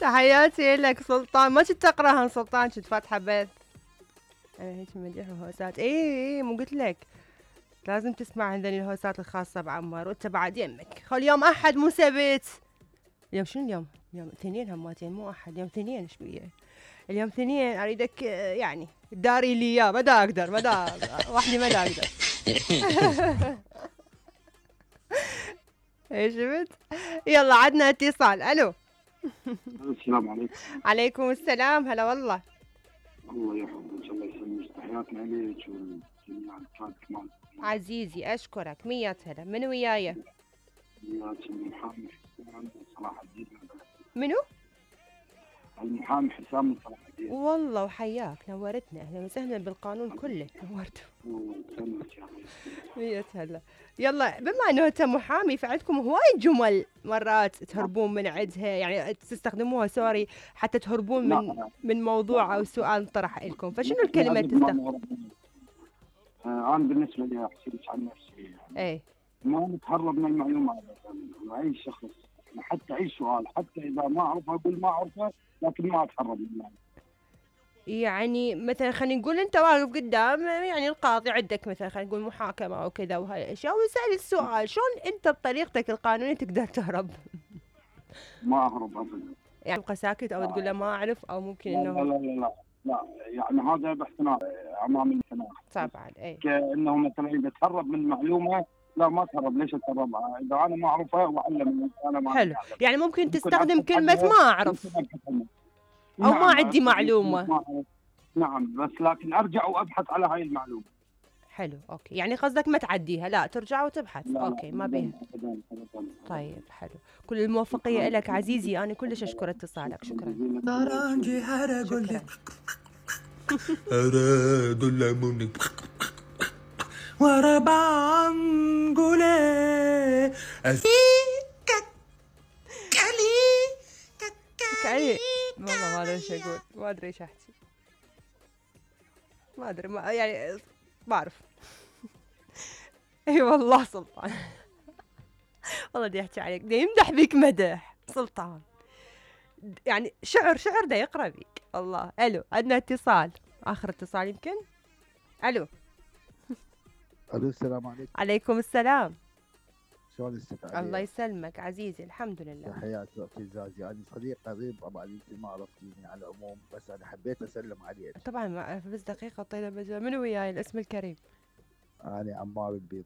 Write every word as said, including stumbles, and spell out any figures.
تحياتي لك سلطان. ما كنت تقراها سلطان، كنت فاتحه بث. انا هيك مديح وهوسات. اي اي مو قلت لك لازم تسمع هذني الهوسات الخاصه بعمار، وانت بعد يمك. خل يوم احد مو سبت. اليوم شنو اليوم؟ اليوم اثنين هماتين مو احد، اليوم اثنين. ايش بيه؟ اليوم اثنين. اريدك يعني داري لي اياه. ما دا اقدر، ما دا وحدي ما دا اقدر. ايش شفت؟ يلا عدنا اتصال. الو. السلام عليكم. عليكم السلام. هلا والله. الله يحفظك ان شاء الله يسلمك. تحياتنا لك والجميع الكاد كمان. عزيزي اشكرك. مية هلا. من وياي؟ وياك المحامي حسام من صلاح الدين. منو؟ المحامي حسام من صلاح الدين. والله وحياك، نورتنا. اهلا وسهلا بالقانون كله، نورته. مية هلا. يلا بما انه انت محامي فعندكم هواي جمل مرات تهربون من عندها، يعني تستخدموها سوري حتى تهربون من من موضوع او سؤال طرح لكم، فشنو الكلمه تستخدم؟ انا بالنسبه لي احكي لك عن نفسي. ايه ما نتهرب من المعلومات. اي شخص حتى اي سؤال حتى اذا ما اعرفه اقول ما اعرفه، لكن ما اتهرب منه. يعني مثلا خلينا نقول انت واقف قدام يعني القاضي، عندك مثلا خلينا نقول محاكمه او كذا وهاي الاشياء، ويسال السؤال، شلون انت بطريقتك القانونيه تقدر تهرب؟ ما اهرب ابدا. يعني تبقى ساكت او تقول له ما اعرف، او ممكن انه لا لا لا لا لا يعني هذا باحترام امام السماح. طبعا اي كانه مثلا اذا تهرب من معلومه، لا ما تهرب. ليش اتهرب؟ اذا انا ما اعرفها واعلم انا ما حلو. أعلم. يعني ممكن تستخدم كلمه ما اعرف او نعم ما عندي معلومه. نعم بس لكن ارجع وابحث على هاي المعلومه. حلو اوكي. يعني قصدك ما تعديها، لا ترجع وتبحث. لا اوكي لا ما بيها. طيب حلو. كل الموفقيه لك عزيزي. انا كلش اشكر اتصالك. شكرا. ترانجي هرقول لك أراد لمونك ورا بانقولي كالي كالي. والله ما ادري ايش اقول، ما ادري ايش احكي، ما ادري ما يعني ما اعرف. اي والله سلطان. والله دي احكي عليك، دي يمدح بيك مدح سلطان، يعني شعر شعر دا يقرا بيك. الله. الو عندنا اتصال، اخر اتصال يمكن. الو. الو السلام عليكم. عليكم السلام. شلون الست؟ الله يسلمك عزيزي. الحمد لله. تحياتي اختي زازي. انا صديق قريب طبعا انت ما عرفتيني على العموم، بس انا حبيت اسلم عليك. طبعا بس دقيقه طيله بس من وياي الاسم الكريم؟ انا عمار البيضاء.